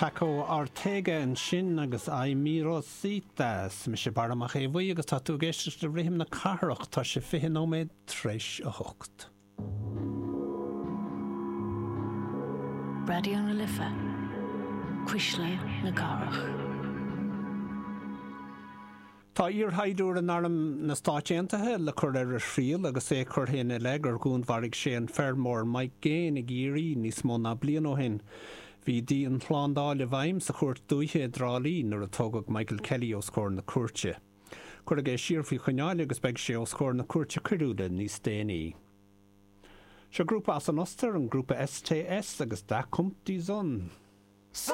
Paco Ortega ansin agus Ay Mi Rosita. Is mise Barra Mac Aodha Bhuí agus tá tú ag éisteacht le Rithim na Cathrach. Tá sé 20 nóiméad tar éis a hocht. Raidió na Life, Cuisle na Cathrach. Tá iarshaighdiúir in Arm na Stáit Aontaithe le cur ar a thriail agus é curtha ina leith gur dhúnmharaigh sé an feirmeoir Mike Gaine i gCiarraí níos mó ná bliain ó shin. Bhí dianshlándáil i bhfeidhm sa chúirt dúiche i dTrá Lí nuair a tógadh Michael Kelly os comhair na cúirte. Cuireadh é siar faoi choinneáil agus beidh sé os comhair na cúirte coiriúla níos déanaí. Seo grúpa as an Ostair, an grúpa STS agus Da kommt die Sonne.